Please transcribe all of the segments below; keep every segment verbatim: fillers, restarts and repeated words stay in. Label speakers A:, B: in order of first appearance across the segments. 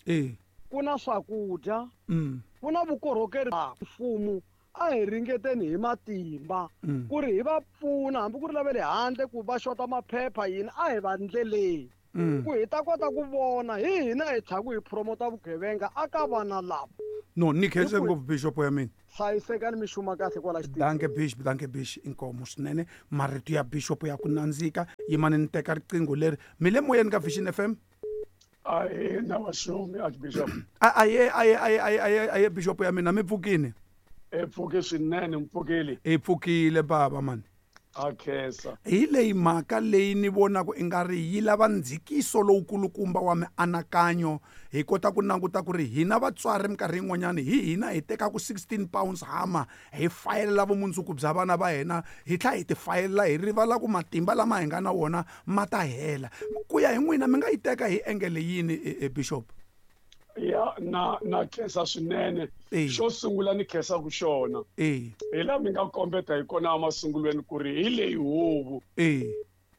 A: E.
B: Ku na swakudya.
A: Mm.
B: Ku na vukorhokeri bya mfumo. A hi ringeteni hi matimba
A: Mm.
B: ku ri hi va pfuna hambi ku ri lava le handle ku va xota maphepha yini a hi va ndleleni.
A: Mm.
B: Ku hi ta kota ku vona hi hina hi tlhaku hi promota vugevenga aka vana lava.
A: No, ni khense
B: Hi ku-
A: ngopfu bishop ya mina.
B: Hlayisekani mi xuma kahle kwala xitichini.
A: Danke bishop, danke bishop, inkomo swinene. Marito ya bishop ya ku nandzika. Yimani ni teka riqingho leri. Mi le moyeni ka Vision F M?
C: Ahe, na wa xumi, Archbishop.
A: A, aye, aye, aye, aye, aye, aye, bishop ya mina, mi pfukile?
C: E pfuke swinene, mi pfukile.
A: E pfukile baba mani.
C: A khensa.
A: Hi leyi mhaka leyi ni vonaka i nga ri yi lava ndzikiso lowukulukumba wa mianakanyo hi kota ku languta ku ri hina vatswari minkarhi yin'wanyani hi hina hi tekaku sixteen pounds hammer hi fayelela vumundzuku bya vana va hina hi tlhela hi ti fayelela hi rivala ku matimba lama hi nga na wona ma ta hela. Ku ya hi n'wina mi nga yi teka hi engele yini, e, e, Bishop?
C: Ya, na, na khensa swinene.
A: Eh.
C: Xo sungula ni khensa ku xona.
A: Eh.
C: Hi laha mi nga kombeta hi kona emasungulweni ku ri hi leyi huvo.
A: Eh.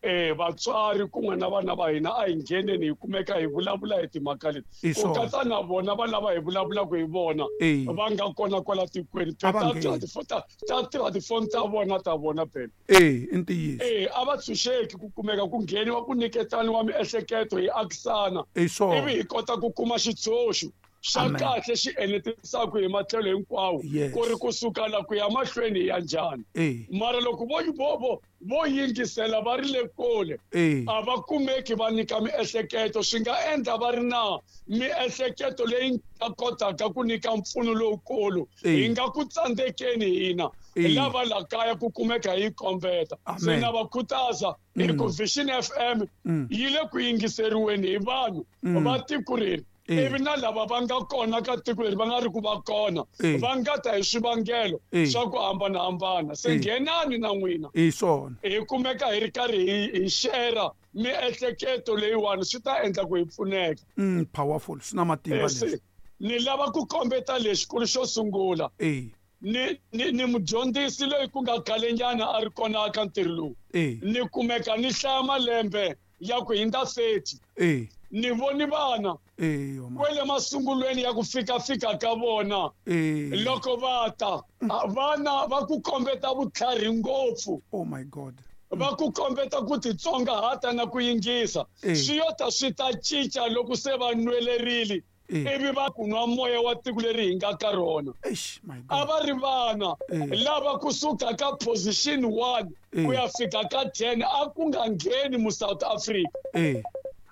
C: Eh, vatswari kun'we na vana va hina a hi ngheneni hi kumeka hi vulavula hi timhaka leti.
A: I
C: Ku
A: swona.
C: katsa na vona va lava hi vulavulaka hi vona,
A: Eh.
C: va nga kona kwala tikweni.
A: A va
C: Ta
A: ngheni.
C: tirha tifo-, ta, ta tirha tifoni ta vona ta vona phela.
A: Eh, i ntiyiso.
C: Eh, a va tshunxeki ku kumeka ku ngheniwa ku nyiketaniwa miehleketo hi akisana.
A: I swona.
C: Ivi hi kota ku kuma xitshunxo xa
A: Amen.
C: kahle xi enetisaka hi matlhelo hinkwawo,
A: Yes.
C: ku ri kusuka la ku ya mahlweni hi ya njhani.
A: Eh.
C: Mara loko vo, vo, vo, vo yingisela va ri le kule,
A: Eh.
C: a va kumeki va nyika miehleketo, swi nga endla va ri na miehleketo leyi nga kotaka ku nyika mpfuno lowukulu.
A: Eh.
C: Hi nga ku tsandzekeni hina
A: Eh.
C: lava la kaya ku kumeka hi kombeta. Se
A: Amen.
C: na va khutaza hi ku
A: Mm.
C: Vision F M
A: Mm.
C: yi le ku yingiseriweni hi vanhu
A: Mm.
C: va tiko leri.
A: Eh.
C: Ivi na lava va nga kona ka tiko leri va nga ri ku va kona,
A: Eh.
C: va nga ta hi swivangelo
A: Eh.
C: swa ku hambanahambana. Se
A: Eh.
C: nghenani na n'wina.
A: I swona.
C: Hi kumeka hi ri karhi hi, hi share miehleketo leyiwani, swi ta endla ku hi pfuneka.
A: Mm, powerful, swi na matimba
C: Eh, se
A: leswi.
C: ni lava ku kombeta lexi ku ri xo sungula.
A: Eh.
C: Ni, ni, ni mudyondzisi loyi ku nga khalenyana a ri kona eka ntirho lowu.
A: Eh.
C: Ni kumeka ni hlaya malembe ya ku hundza thirty.
A: Eh.
C: Ni voni vana
A: Eh, yo, ma.
C: kwele masungulweni ya ku fika-fika ka vona.
A: Eh.
C: Loko va ta, a, vana va ku kombeta vutlhari ngopfu.
A: Oh my God.
C: Va ku kombeta ku titsongahata na ku yingisa.
A: Eh.
C: Swi yo ta swi ta cinca loko se va nwelerile.
A: Eh.
C: Ivi va ku nwa moya wa tiko leri hi nga ka rona.
A: Eish, my God.
C: A va ri vana
A: Eh.
C: lava kusuka ka position one
A: Eh.
C: ku ya fika ka ten a ku nga ngheni mu South Africa.
A: Eh.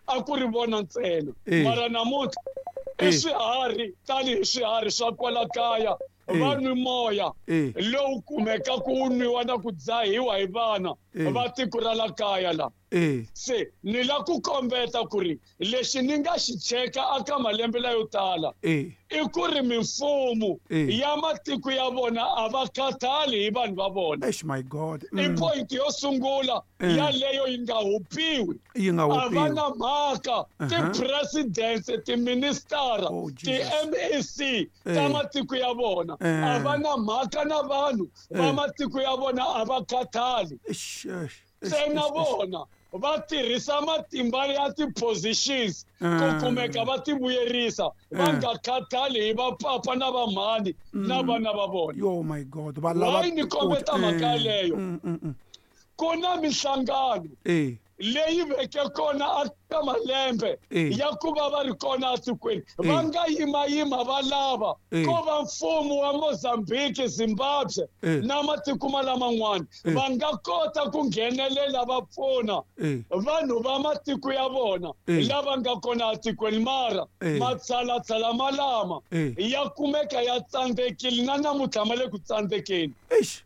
C: A ku ri vona ntsena.
A: Eh.
C: Mara namuntlha i
A: Eh.
C: swiharhi tanihi swiharhi swa kwala kaya,
A: Eh.
C: va nwi moya
A: Eh.
C: lowu kumekaka wu nwiwa na ku dzahiwa hi vana
A: Eh.
C: va tiko ra la kaya la.
A: Eh.
C: Se ni la ku kombeta ku ri lexi ni nga xi cheka aka malembe layo tala
A: Eh.
C: i ku ri mimfumo
A: Eh.
C: ya matiko ya vona a va khathali hi vanhu va vona.
A: Eish, my God.
C: I
A: Mm.
C: point yo sungula
A: Eh.
C: yaleyo yi nga hupiwi.
A: Yi nga
C: A va
A: hupiwi.
C: na mhaka
A: Uh-huh.
C: ti-presidents, ti-minister,
A: Oh, Jesus.
C: ti-M E C ta
A: Eh.
C: matiko ya vona.
A: Eh.
C: A va na mhaka na vanhu va
A: Eh.
C: matiko ya vona, a va khathali.
A: Eish, eish, eish,
C: Ntsena
A: eish, eish.
C: vona va tirhisa matimba ya ti-positions ku
A: Eh.
C: kumeka va ti vuyerisa, va
A: Eh.
C: nga khathali hi vapapa na vamhani na
A: Mm.
C: vana va vona.
A: Yo, my God. Va lava
C: Why ni
A: ku
C: kombeta mhaka
A: Eh.
C: yaleyo?
A: Mm, mm, mm.
C: Ku na minhlangano
A: Eh.
C: leyi veke kona eka malembe
A: Eh.
C: ya ku va va ri kona etikweni.
A: Eh.
C: Va nga yimayima va lava
A: Eh.
C: ko va mfumo wa Mozambique, Zimbabwe
A: Eh.
C: na matiko ma laman'wana
A: Eh.
C: va nga kota ku nghenelela va pfuna
A: Eh.
C: vanhu va matiko ya vona
A: Eh.
C: lava nga kona etikweni. Mara
A: Eh.
C: matshalatshala malama
A: Eh.
C: ya kumeka ya tsandzekile na namuntlha ma le ku tsandzekeni.
A: Eish.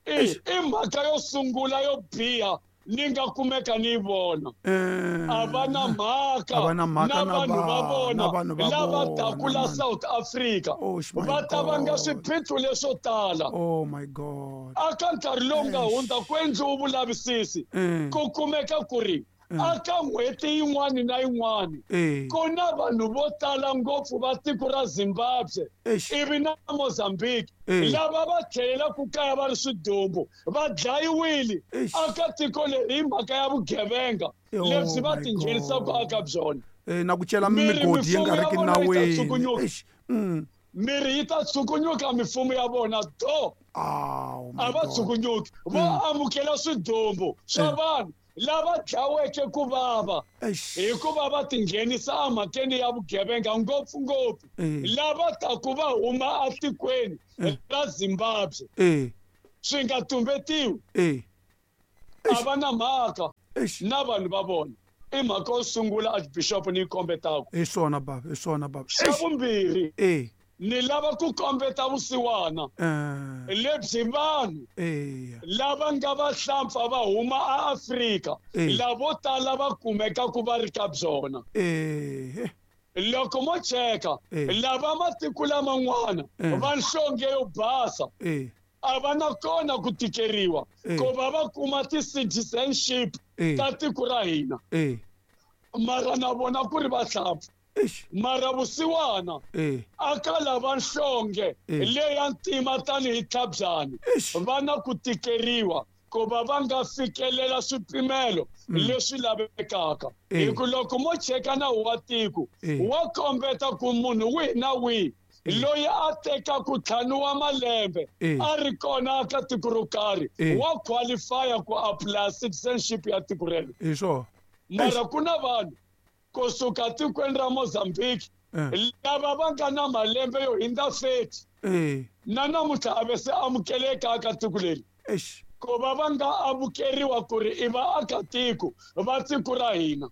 C: I,
A: Eish.
C: i mhaka yo sungula yo biha ni nga kumeka ni yi vona.
A: Eh.
C: A va na mhaka
A: A va na mhaka
C: na
A: na
C: vanhu va
A: va-
C: vona
A: na vanhu va
C: lava
A: vona,
C: taku la
A: man.
C: South Africa.
A: Oh, my
C: Va ta vanga
A: God.
C: swiphiqo leswo tala.
A: Oh my God.
C: Aka nkarhi lowu nga
A: Eish.
C: hundza ku endliwe vulavisisi
A: Eh.
C: ku kumeka ku ri Aka n'hweti yin'wana na yin'wana ku na vanhu vo tala ngopfu va tiko ra Zimbabwe ivi na Mozambique lava va tlhelelaku kaya va ri swidumbu va dlayiwile aka tiko leri hi mhaka ya vugevenga lebyi va tinghenisaka aka byona.
A: Na ku cela migodi yi nga ri ki nawini.
C: Miri yi ta tsukunyuka mifumo ya vona do. A va tsukunyuki vo amukela swidumbu swa vanhu lava dlaweke ku vava hikuva va tinghenisa emhakeni ya vugevenga ngopfungopfu lava taku va huma atikweni ra Zimbabwe swi nga tumbetiwi a va na mhaka na vanhu va vona. I mhaka yo sungula Archbishop ni yi kombetaka.
A: Hi swona baba, hi swona baba.
C: Xa vumbirhi ni lava ku kombeta vusiwana lebyi vanhu lava nga vahlampfa va huma aAfrika lavo tala va kumekaku va ri ka byona. Loko mo cheka lava matiko laman'wana va nhlonge yo basa a va na kona ku tikeriwa ku va va kuma ti-citizenship ta tiko ra hina mara na vona ku ri vahlampfa. Mara vusiwana aka lava nhlonge leya ntima tanihi tlhabyani va na ku tikeriwa ku va va nga fikelela swipimelo leswi lavekaka. Hi ku loko mo cheka nawu wa tiko wa kombeta ku munhu wihi na wihi loyi a tekaku ntlhanu wa malembe a ri kona aka tiko ro karhi wa qualifya ku apply citizenship ya tiko rero.
A: Hi swona.
C: Mara ku na vanhu kusuka tikweni ra Mozambique lava va nga na malembe yo hindza thirty na namuntlha a ve se amukeleka aka tiko leri ku va va nga amukeriwa ku ri i vaakatiko va tiko ra hina.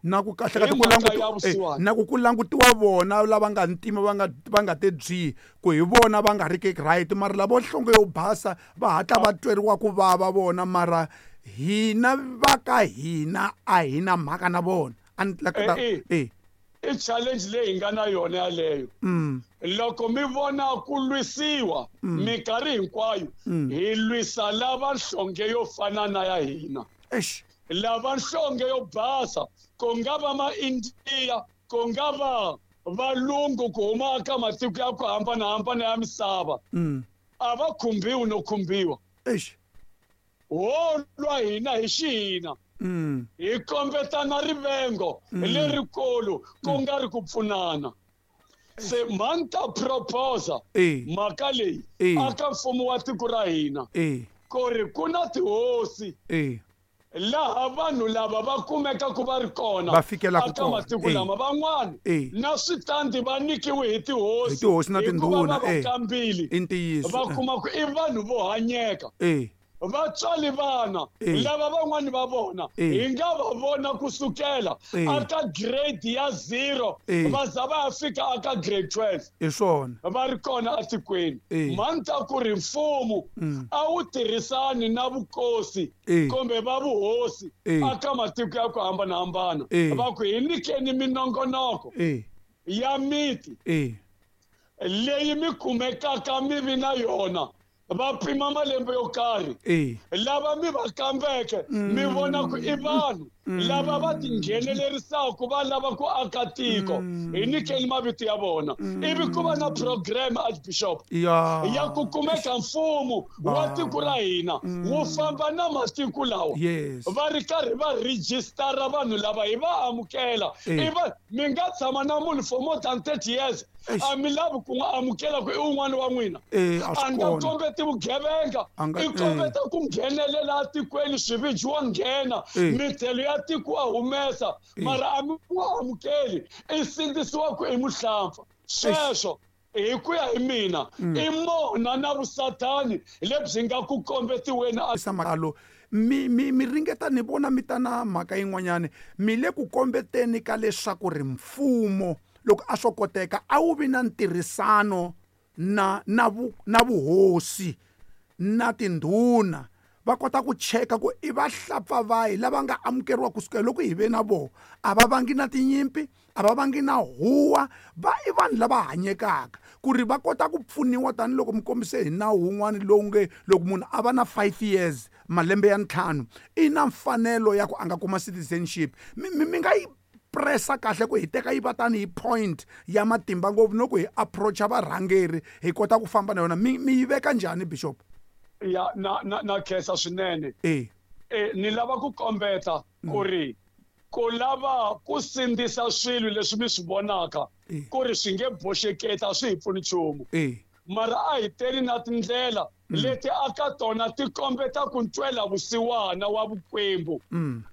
A: Na ku kahle ka ku langutiwa na ku ku langutiwa vona lava nga ntima va nga va nga te byi ku hi vona va nga ri ki right mara lavo nhlonge yo basa va hatla va tweriwa ku vava vona mara hina va ka hina a hi na mhaka na vona.
C: I challenge leyi hi nga na yona yaleyo. Loko mi vona ku lwisiwa minkarhi hinkwayo hi lwisa lava nhlonge yo fana na ya hina. Lava nhlonge yo basa ku nga va ma-India ku nga va valungu ku huma ka matiko ya ku hambanahambana ya misava a va khumbiwi no khumbiwa. Ho lwa hina hi xihina hi kombetana rivengo lerikulu ku nga ri ku pfunana. Se mhani ta proposa mhaka leyi aka mfumo wa tiko ra hina ku ri ku na tihosi laha vanhu lava va kumekaku va ri kona
A: va fikelaka
C: aka matiko lama van'wana na switandi va nyikiwe hi tihosi
A: hi tihosi na tindhuna
C: va kambili
A: i ntiyiso
C: va kuma ku i vanhu vo hanyeka vatswali vana lava van'wani va vona hi nga va vona kusukela aka grade ya zero va za va ya fika aka grade twelve.
A: Hi swona
C: va ri kona atikweni. Mhani ta ku ri mfumo a wu tirhisani na vukosi kumbe va vuhosi aka matiko ya ku hambanahambana va ku hi nyikeni minongonoko ya miti leyi mi kumekaka mi vi na yona va pima malembe yo karhi lava mi va kambeke mi vona ku i vanhu lava va tinghenelerisaka va lava ku aka tiko hi nyikeni mavito ya vona ivi ku va na program Archbishop ya ku kumeka mfumo wa tiko ra hina wu famba na matiko lawa va ri karhi va rejistara vanhu lava hi va amukela i va mi nga tshama na munhu for more than thirty years a mi lavi ku n'wi amukela ku i wun'wana wa n'wina a nga kombeti vugevenga i kombeta ku nghenelela atikweni swiviji wa nghena mithelo ya tiko wa humesa mara a mi n'wi amukeli i sindzisiwa ku i muhlampfa. Sweswo hi ku ya hi mina i mona na vusathani lebyi nga ku kombetiweni.
A: Mi mi mi ringeta ni vona mi ta na mhaka yin'wanyani mi le ku kombeteni ka leswaku ri mfumo loko a swo koteka a wu vi na ntirhisano na na vu na vuhosi na tindhuna va kota ku cheka ku i vahlapfa vahi lava nga amukeriwa kusukela loko hi ve na vona a va vangi na tinyimpi a va vangi na huwa va i vanhu lava hanyekaka ku ri va kota ku pfuniwa tanihiloko mi kombise hi nawu wun'wana lowu nge loko munhu a va na five years malembe ya ntlhanu i na mfanelo ya ku a nga kuma citizenship mi mi nga yi pressa kahle ku hi teka yi va tanihi point ya matimba ngopfu loko hi approacha varhangeri hi kota ku famba na yona mi mi yi veka njhani bishop
C: ya na na na khensa swinene
A: eh
C: eh ni lava ku kombeta ku ri ku lava ku sindzisa swilo leswi mi swi vonaka ku ri swi nge boxeketa swi hi pfuni nchumu mara a hi teli na tindlela leti aka tona ti kombeta ku ntwela vusiwana wa vukwembu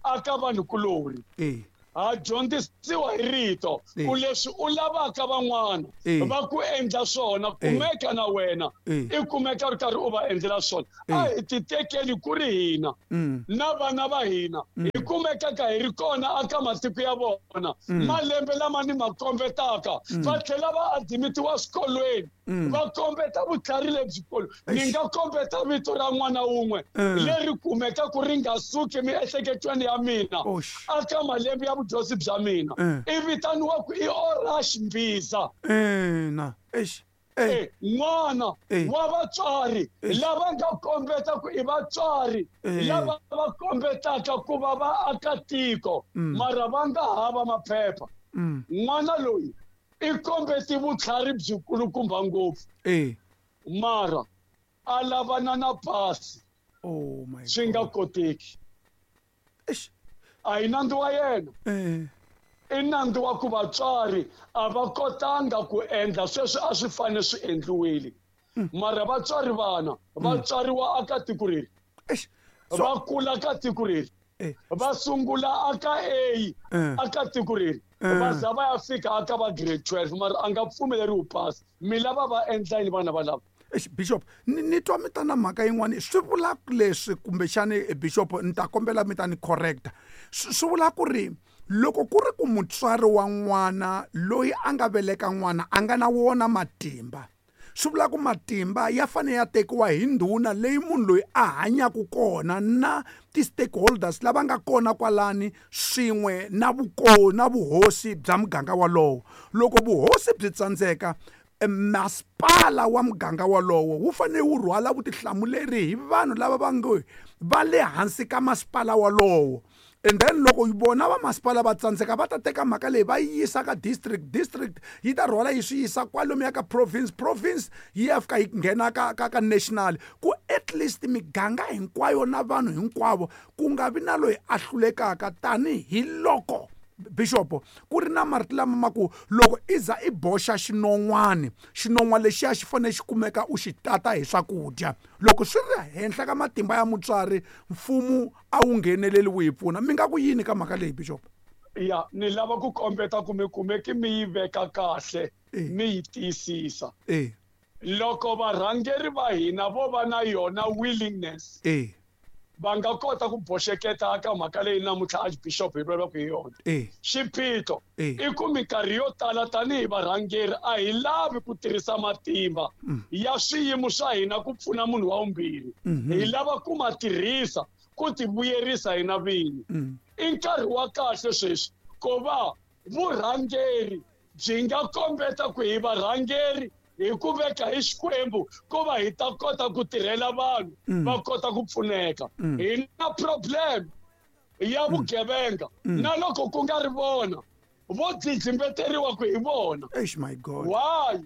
C: aka vanhukulorhi ha dyondzisiwa hi rito ku leswi u lavaka van'wana va ku endla swona kumeka na wena i kumeka ri karhi u va endlela swona a hi ti tekeli ku ri hina na vana va hina hi kumekaka hi ri kona aka matiko ya vona malembe lama ni ma kombetaka va tlhela va adimitiwa swikolweni va kombeta vutlhari lebyikulu ni nga kombeta vito ra n'wana wun'we leri kumeka ku ri nga suki miehleketweni ya mina aka malembe ya vudyondzi bya mina i vitaniwa ku i Orash Mbiza
A: ina eish
C: n'wana wa vatswari lava nga kombeta ku i vatswari lava va kombetaka ku va va aka tiko mara va nga hava maphepha n'wana loyi i kombeti vutlhari byikulukumba ngopfu mara a lavana na pasi swi nga koteki a hi nandzu wa yena i nandzu wa ku vatswari a va kotanga ku endla sweswi a swi fanele swi endliwile mara vatswari vana va tswariwa aka tiko reri va kula ka tiko reri va sungula aka A aka tiko reri va za va ya fika aka va grade twelve mara a nga pfumeleriwi pasi mi lava va endla yini vana va lava
A: Eish bishop ni ni twa mi ta na mhaka yin'wana swi vula leswi kumbexani bishop ni ta kombela mi ta ni correcta swi vula ku ri loko ku ri ku mutswari wa n'wana loyi a nga veleka n'wana a nga na wona matimba swi vula ku matimba ya fanele ya tekiwa hi ndhuna leyi munhu loyi a hanyaka kona na ti-stakeholders lava nga kona kwalani swin'we na vuko na vuhosi bya muganga walowo loko vuhosi byi tsandzeka masipala wa muganga walowo wu fanele wu rhwala vutihlamuleri hi vanhu lava va nge va le hansi ka masipala walowo and then loko vona va masipala va tsandzeka va ta teka mhaka leyi va yi yisa ka district district yi ta rhwala yi swi yisa kwalomuya ka province province yi ya fika yi nghena ka ka ka national ku at least miganga hinkwayo na vanhu hinkwavo ku nga vi na loyi a hlulekaka tanihiloko bishop ku ri na marito lama ma ku loko i za i boxa xinon'wani xinon'wana lexiya xi fanele xi kumeka u xi tata hi swakudya loko swi ri henhla ka matimba ya mutswari mfumo a wu ngheneleli wu hi pfuna mi nga ku yini ka mhaka leyi bishop
C: ya ni lava ku kombeta ku mi kumeki mi yi veka kahle mi yi tiyisisa loko varhangeri va hina vo va na yona willingness va nga kota ku boxeketa ka mhaka leyi namuntlha archbishop hi vulavulaka hi yona xiphiqo i ku minkarhi yo tala tanihi varhangeri a hi lavi ku tirhisa matimba ya swiyimo swa hina ku pfuna munhu wa vumbirhi hi lava ku ma tirhisa ku ti vuyerisa hina vinyi i nkarhi wa kahle sweswi ku va vurhangeri byi nga kombeta ku hi varhangeri hi ku veka hi Xikwembu ku va hi ta kota ku tirhela vanhu va kota ku pfuneka hi na problem ya vugevenga na loko ku nga ri vona vo dlidlimbeteriwa ku hi vona
A: eish my god
C: why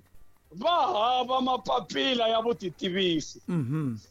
C: va hava mapapila ya vutitivisi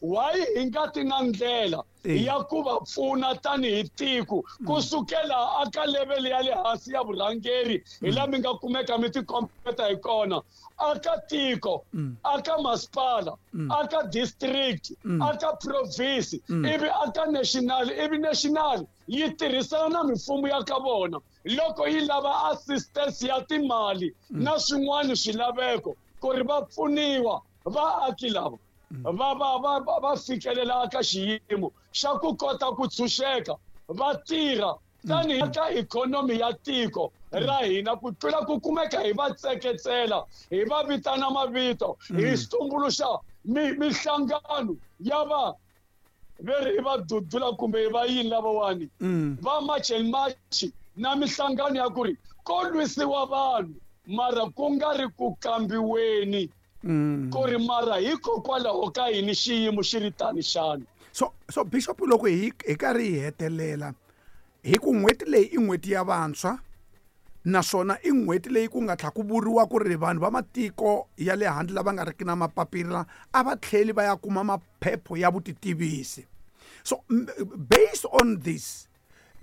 C: why hi nga ti na ndlela ya ku va pfuna tanihi tiko kusukela aka level ya le hansi ya vurhangeri hi laha mi nga kumeka mi tikombeta hi kona aka tiko aka masipala aka district aka province ivi aka national ivi national yi tirhisana na mimfumo ya ka vona loko yi lava assistance ya timali na swin'wana swilaveko ku ri va pfuniwa vaaki lava va va va va fikelela ka xiyimo xa ku kota ku tshunxeka va tirha tanihi ka ikhonomi ya tiko ra hina ku tlula ku kumeka hi va tseketsela hi va vitana mavito hi tumbuluxa mihlangano ya va Veri i va dudula kumbe va yini lavawani va March and March na mihlangano ya ku ri ko lwisiwa vanhu mara ku nga ri ku kambiweni ku ri mara hikokwalaho ka yini xiyimo xi ri tani xana.
A: So so Bishop loko hi hi karhi hi hetelela hi ku n'hweti leyi i n'hweti ya vantshwa naswona i n'hweti leyi ku nga tlha ku vuriwa ku ri vanhu va matiko ya le handle lava nga riki na mapapila a va tlheli va ya kuma maphepho ya vutitivisi. So based on this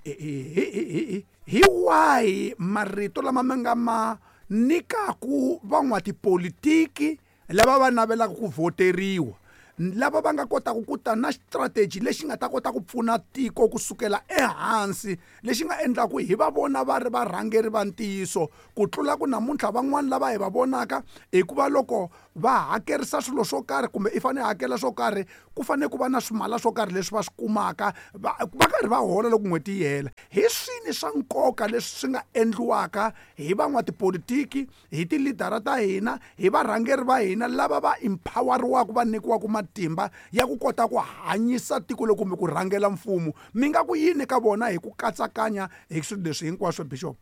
A: hi wahi marito lama mi nga ma nyikaku van'watipolitiki lava va navelaka ku voteriwa lava va nga kotaka ku ta na strategy lexi nga ta kota ku pfuna tiko kusukela ehansi lexi nga endlaku hi va vona va ri varhangeri va ntiyiso ku tlula ku namuntlha van'wani lava hi va vonaka hikuva loko va hakerisa swilo swo karhi kumbe i fanele hakela swo karhi ku fanele ku va na swimala swo karhi leswi va swi kumaka va va karhi va hola loko n'hweti yi hela. Hi swini swa nkoka leswi swi nga endliwaka hi van'watipolitiki hi tilidara ta hina hi varhangeri va hina lava va empoweriwaka va nyikiwaka matimba ya ku kota ku hanyisa tiko loko kumbe ku rhangela mfumo mi nga ku yini ka vona hi ku katsakanya hi swilo leswi hinkwaswo Bishop?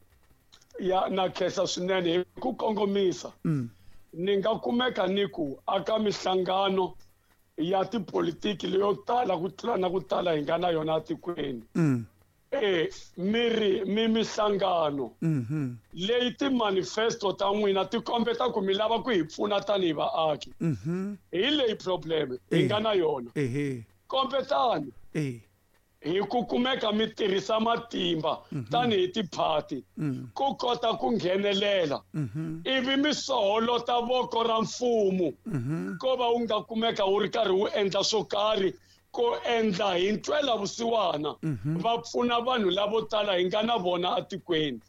C: Ya na khensa swinene hi ku kongomisa. Ni nga kumeka ni ku aka mihlangano ya tipolitiki leyo tala ku tlula na ku tala hi nga na yona etikweni. Eh mi ri mi mihlangano leyi ti-manifesto ta n'wina ti kombeta ku mi lava ku hi pfuna tanihi vaaki. Hi leyi problem hi nga na yona. Kombetani hi ku kumeka mi tirhisa matimba tanihi tiphati ku kota ku nghenelela ivi mi soholota voko ra mfumo ko va wu nga kumeka wu ri karhi wu endla swo karhi ko endla hi ntwela vusiwana va pfuna vanhu lavo tala hi nga na vona etikweni.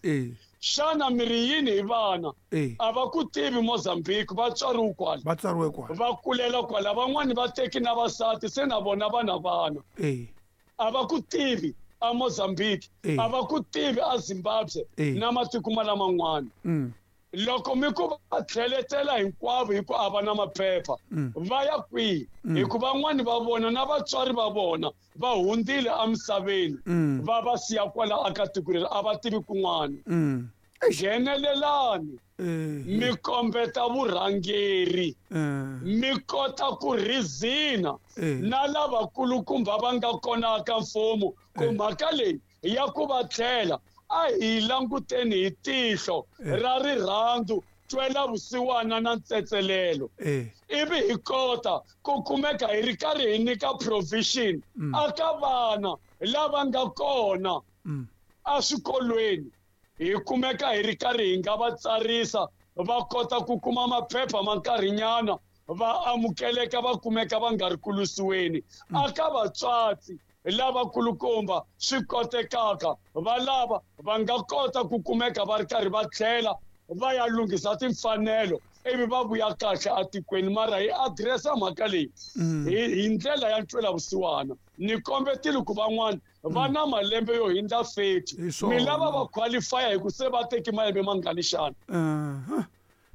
C: Xana mi ri yini hi vana a va ku tivi Mozambique va tswariwe kwala
A: va tswariwe kwala
C: va kulela kwala van'wani va teki na vasati se na vona va na vana a va ku tivi a Mozambique a va ku tivi a Zimbabwe na matiko ma laman'wana. Loko mi ku va tlheletela hinkwavo hi ku a va na maphepha va ya kwihi hikuva van'wani va vona na vatswari va vona va hundzile emisaveni va va siya kwala aka tiko leri a va tivi kun'wana. Nghenelelani mi kombeta vurhangeri mi kota ku rizina na lavakulukumba va nga kona ka mfumo ku mhaka leyi ya ku va tlhela a hi languteni hi tihlo ra rirhandzu twela vusiwana na ntsetselelo ivi hi kota ku kumeka hi ri karhi hi nyika provision aka vana lava nga kona eswikolweni hi kumeka hi ri karhi hi nga va tsarisa va kota ku kuma maphepha ma nkarhinyana va amukeleka va kumeka va nga ri ku lwisiweni aka vatswatsi lavakulukumba swi kotekaka va lava va nga kota ku kumeka va ri karhi va tlhela va ya lunghisa timfanelo ivi va vuya kahle etikweni. Mara hi adiresa mhaka leyi hi ndlela ya ntwela vusiwana. Ni kombetile ku van'wana va na malembe yo hindza thirty mi lava va qualify hi ku se va teki malembe mangani xana.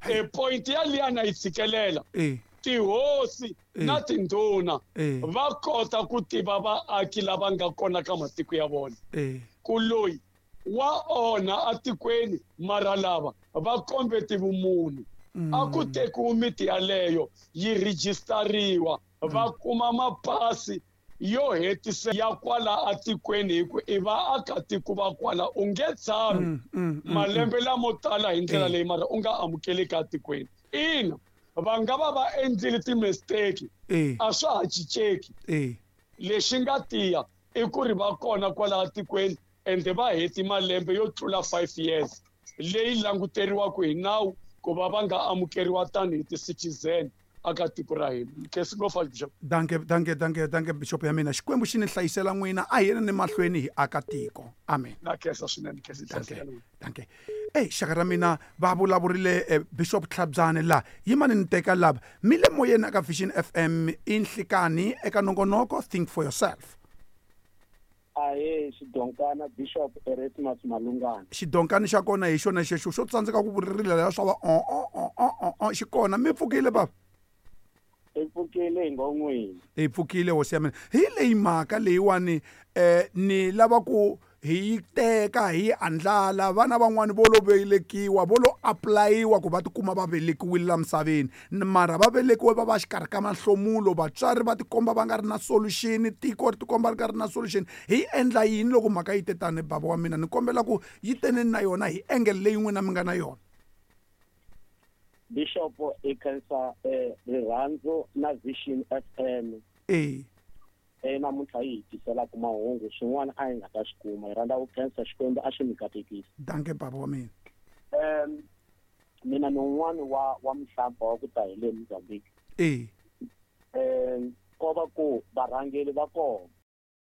C: E point ya liyana yi tshikelela tihosi na tindhuna va kota ku tiva vaaki lava nga kona ka matiko ya vona ku loyi wa onha atikweni mara lava va kombeti vumunhu a ku tekiwi miti yaleyo yi rejistariwa va kuma mapasi yo hetisa ya kwala atikweni hi ku i vaakatiko va kwala u nge tshami malembe lamo tala hi ndlela leyi mara u nga amukeleki atikweni. Ina va nga va va endlile ti-mistake a swa ha cinceki lexi nga tiya i ku ri va kona kwala atikweni ende va heti malembe yo tlula five years leyi languteriwaka hi nawu ku va va nga amukeriwa tanihi ti-citizen aka tiko ra hina. Khensi ngopfu Bishop.
A: Danke danke danke danke Bishop ya mina. Xikwembu xi ni hlayisela n'wina a hi yeni ni mahlweni hi aka tiko. Amen.
C: Na khensa swinene khensi.
A: Danke danke. Ey xaka ra mina va vulavurile eh, Bishop Tlhabyane la yimani ni teka lava mi le moyeni aka Vision F M i nhlikani eka nongonoko Think for Yourself.
D: Ahe xidonkana Bishop Erasmus Malungana.
A: Xidonkani xa kona hi xona xexo xo tsandzeka ku vuririle la swa va o o o o o xi kona mi pfukile baba.
D: Hi pfukile hi ngon'wini.
A: Hi pfukile hosi ya mina. Hi leyi mhaka leyiwani eh ni lava ku hi yi teka hi yi andlala vana van'wani vo lo velekiwa vo lo apulayiwa ku va tikuma va velekiwile la misaveni mara va velekiwe va va xikarhi ka mahlomulo vatswari va tikomba va nga ri na solution tiko ri tikomba ri nga ri na solution hi endla yini loko mhaka yi te tani bava wa mina ni kombela ku yi teneni na yona hi angle leyi n'wina mi nga na yona.
D: Bishop i khensa rirhandzu na Vision F M.
A: Eh.
D: E namuntlha yi hi tiselaka mahungu swin'wana a hi nga ta swi kuma hi rhandza ku khensa Xikwembu a xi mi katekisa.
A: Danke baba wa mina.
D: Um mina ni un'wana wa wa mhlamba wa ku ta hi le Mozambique.
A: Eh.
D: Um ko va ku varhangeri va kona.